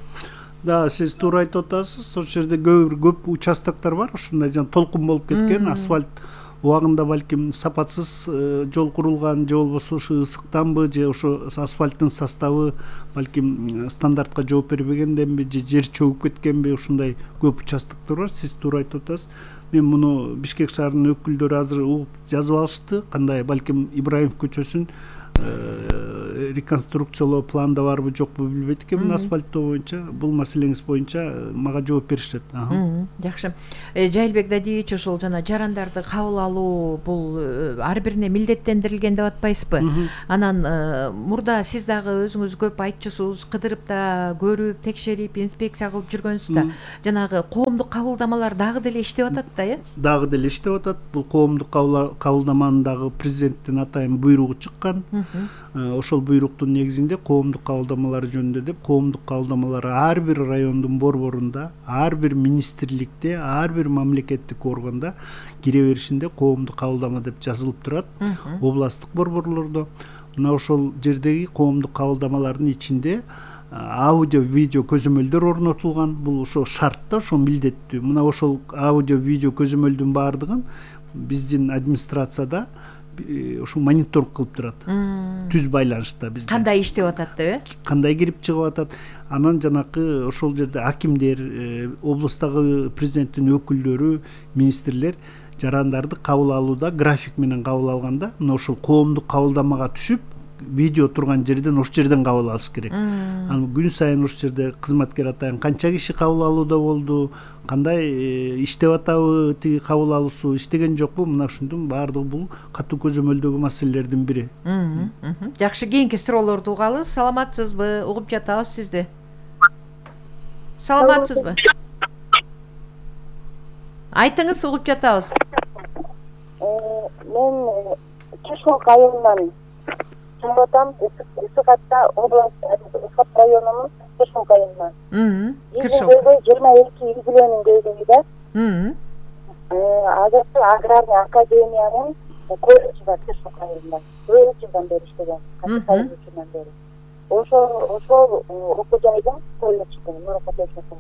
Да, сиз туура айтып атасыз. Ошол жерде көп участоктор бар, ушундай жана толкун болуп кеткен, асфальт убагында балким сапатсыз жол курулган, же болбосо ушу ысыктанбы, же ошо асфальттын составы балким стандартка жооп бербегенденби, же жер чөгүп кеткенби, ушундай көп участоктор бар. Сиз туура айтып атасыз. Мен муну Бишкек шаарынын өкүлдөрү азыр угуп жазып алышты. Кандай балким Ибраимов көчөсүн реконструкциялоо планда барбы жокпу билбейт экенмин. Асфальттоо боюнча бул маселеңиз боюнча мага жооп беришет. Жакшы. Жайылбек Дадиевич, ошол жана жарандарды кабыл алуу бул ар бирине милдеттендирилген деп атпайсызбы? Анан мурда сиз дагы өзүңүз көп айтчусуз, кыдырып да көрүп, текшерип, инспекция кылып жүргөнсүз да. Жанагы коомдук кабылдамалар дагы деле иштеп атат да, Дагы деле иштеп атат. Бул коомдук кабылдаманын дагы президенттин атайын буйругу чыккан. Ошол буйруктун негизинде коомдук кабылдамалар жөнүндө деп, коомдук кабылдамалар ар бир райондун борборунда, ар бир министрликте, ар бир мамлекеттик органда кире беришинде коомдук кабылдама деп жазылып турат. Областтык борборлордо мына ошол жердеги коомдук кабылдамалардын ичинде аудио, видео көзөмөлдөр орнотулган. Бул ошо шарт да, ошо милдеттүү. Мына ошол аудио, видео көзөмөлдүн баардыгын биздин администрацияда ошо мониторинг кылып турат. Түз байланышта бизде. Кандай иштеп атат деп, Кандай кирип чыгып атат. Анан жанакы ошол жерде акимдер, облустагы президенттин өкүлдөрү, министрлер жарандарды кабыл алууда график менен кабыл алганда, мына ошол коомдук кабылдамага түшүп, видео турган жерден ошол жерден кабыл алыш керек. Анан күн сайын ошол жерде кызматкер атайын канча киши кабыл алууда болду, кандай иштеп атабы, тиги кабыл алуусу иштеген жокпу, мына ушундун баардыгы бул катуу көзөмөлдөгү маселелердин бири. Жакшы, кийинки суроолорду угалы. Саламатсызбы? Угуп жатабыз сизди. Саламатсызбы? Айтыңыз, угуп жатабыз. Мен Чешок айылынан чыгатам, Ысыкатта область, Ысыкат районунун Чешок айылынан. 22 юбилейнин көйгөйүдө азыркы аграрный академиянын колледжи бар Чешок айылында. 4 жылдан бери иштеген, кайсы жылдан бери. Ошол окуу жайдын колледждин мурунку техникум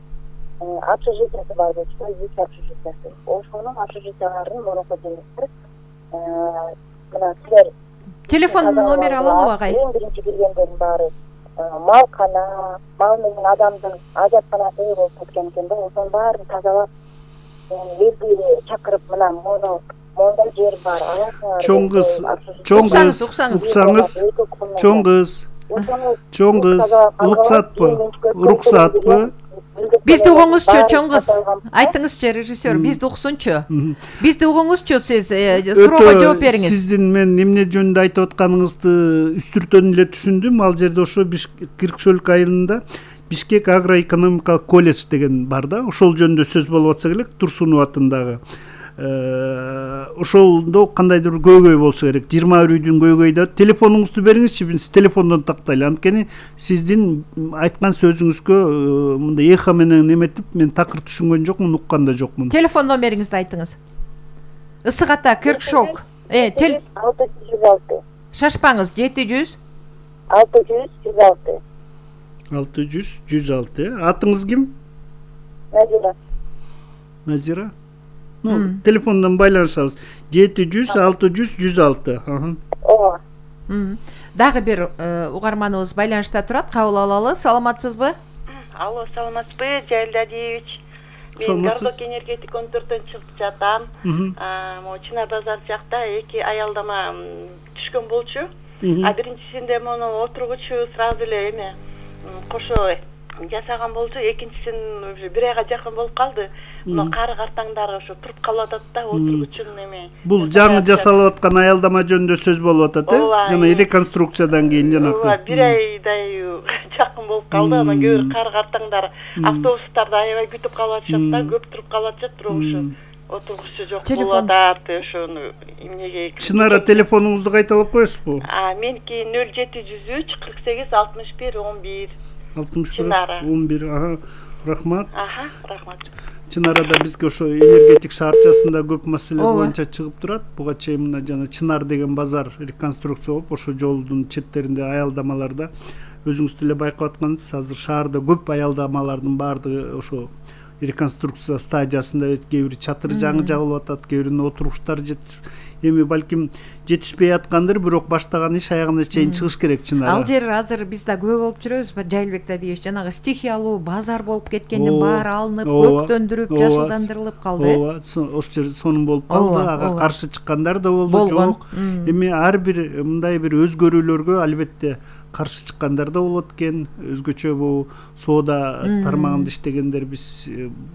общежитиясы бар болчу, 3 общежитиясы. Ошонун общежитияларынын мурунку директору мына силер телефон номер алалы агай. Эң биринчи келгендердин баары малкана, мал менен адамдын ажатканасы болуп кеткен экен да, ошонун баарын тазалап, элди чакырып, мына монда жер бар. Чоң кыз, уруксатпы? Бизди угуңузчу, чоң кыз. Айтыңызчы, режиссер, бизди уксунчу. Бизди угуңузчу, сиз суроого жооп бериңиз. Сиздин мен эмне жөнүндө айтып атканыңызды үстүртөн эле түшүндүм. Ал жерде ошо Киркшөлүк айылында Бишкек агроэкономикалык колледж деген бар да, ошол жөнүндө сөз болуп атса керек, Турсунов атындагы. Ошолдо кандайдыр бир көйгөй болсо керек. 20 үйдүн көйгөйдө телефонуңузду бериңизчи, биз телефондон тактайлы. Анткени сиздин айткан сөзүңүзгө мындай эхо менен эметип, мен такыр түшүнгөн жокмун, уккан да жокмун. Телефон номериңизди айтыңыз. Ысыката, Киркшок. 616. Шашпаңыз, 700 616. 600-106. Атыңыз ким? Назира. Телефондон байланышабыз. 700-600-106. Ооба. Дагы бир угарманыбыз байланышта турат, кабыл алалы. Саламатсызбы? Алло, саламатсызбы, Жайыл Дадиевич. Мен Гордок энергетик 14-төн чыгып жатам. Чынар базар жакта 2 аялдама түшкөн болчу. Биринчисинде мону отургучу сразу эле эме кошо жасаган болчу, экинчисин уже 1 айга жакын болуп калды. Мына кары картаңдары ошо туруп калып атат да, отургучун эме. Бул жаңы жасалып аткан аялдама жөнүндө сөз болуп атат, жана реконструкциядан кийин жанакы. Ооба, 1 айдай жакын болуп калды. Анан көбүр кары картаңдар автобустарда аябай күтүп калып атышат да, көп туруп калып атышат, бирок ошо отургучу жок болуп атат, ошону эмнеге. Чынара, телефонуңузду кайталап коесузбу? Меники 0703 48 61 11. 11. Рахмат. Рахмат. Чынарада бизге ошо энергетик шаарчасында көп маселе боюнча чыгып турат. Буга чейин мына жана Чынар деген базар реконструкция болуп, ошо жолдун четтеринде аялдамаларда өзүңүз деле байкап аткансыз, азыр шаарда көп аялдамалардын баардыгы ошо реконструкция стадиясында, кээ бир чатыры жаңы жабылып атат, кээ биринин отуруштары эми балким жетишпей аткандыр, бирок баштаган иш аягына чейин чыгыш керек чынара. Ал жер азыр биз да көп болуп жүрөбүз. Жайылбек Дадиевич, жанагы стихиялуу базар болуп кеткенден баары алынып, көктөндүрүп, жашылдандырылып калды. Ооба, ошол жер сонун болуп калды. Ага каршы чыккандар да болду, жок. Эми ар бир мындай бир өзгөрүүлөргө албетте каршы чыккандар да болот экен. Өзгөчө бул соода тармагында иштегендер биз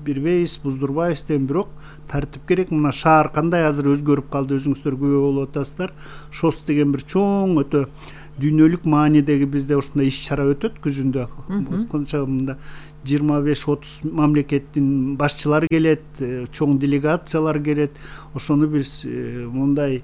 бирбейбиз, буздурбайбыз деген, бирок тартип керек. Мына шаар кандай азыр өзгөрүп калды, өзүңүздөр күбө болуп атасыздар. ШОС деген бир чоң өтө дүйнөлүк маанидеги бизде ушундай иш-чара өтөт күзүндө. Канча мында 25-30 мамлекеттин башчылары келет, чоң делегациялар келет. Ошону биз мындай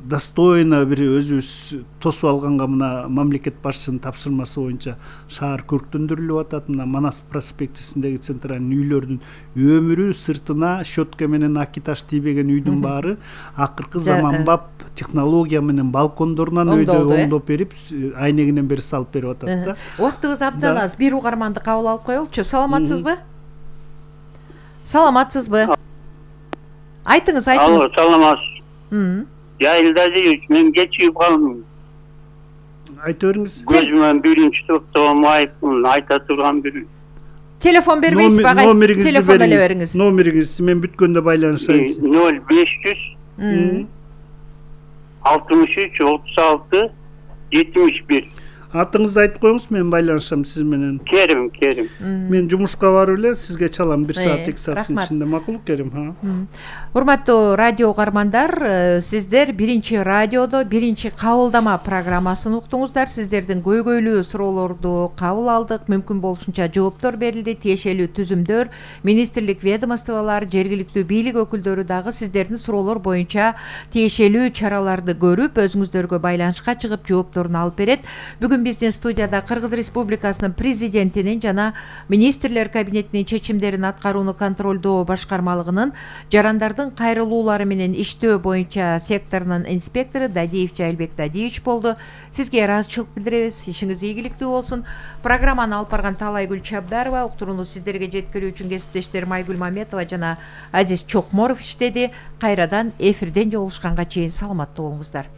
достойно бир өзүбүз тосуп алганга, мына мамлекет башчысынын тапшырмасы боюнча шаар көрктөндүрүлүп атат. Мына Манас проспектисиндеги центральный үйлөрдүн өмүрү сыртына щетка менен акиташ тийбеген үйдүн баары акыркы заманбап технология менен балкондорунан өйдө оңдоп берип, айнегинен бери салып берип атат да. Убактыбыз абдан аз. Бир угарманды кабыл алып коелучу. Саламатсызбы? Саламатсызбы? Айтыңыз. Алло, саламатсыз. Жайылдадыевич, мен кечигип калдым. Айта бериңиз. Көзүмөн биринчи топтогу майыпмын, айта турган бир. Телефон бербейсиз ба? Телефон эле бериңиз. Номериңизди мен бүткөндө байланышабыз. 0500 63 36 71. Атыңызды айтып коюңуз, мен байланышам сиз менен. Керим. Мен жумушка барып эле сизге чалам 1 саат 2 сааттын ичинде. Макул, Керим. Урматтуу радио угармандар, сиздер биринчи радиодо биринчи кабылдама программасын уктуңуздар. Сиздердин көйгөйлүү суроолорду кабыл алдык. Мүмкүн болушунча жооптор берилди. Тиешелүү түзүмдөр, министрлик, ведомстволор, жергиликтүү бийлик өкүлдөрү дагы сиздердин суроолор боюнча тиешелүү чараларды көрүп, өзүңүздөргө байланышка чыгып жоопторун алып берет. Бүгүн биздин студияда Кыргыз Республикасынын президентинин жана министрлер кабинетинин чечимдерин аткарууну контролдоо башкармалыгынын жарандардын кайрылуулары менен иштөө боюнча секторунун инспектору Дадиев Жайылбек Дадиевич болду. Сизге ыраазычылык билдиребиз. Ишиңиз ийгиликтүү болсун. Программаны алып барган Талайгүл Чабдарова, уктурууну сиздерге жеткирүү үчүн кесиптештер Майгүл Маметова жана Азиз Чокморов иштеди. Кайрадан эфирден жолугушканга чейин саламаттуу болуңуздар.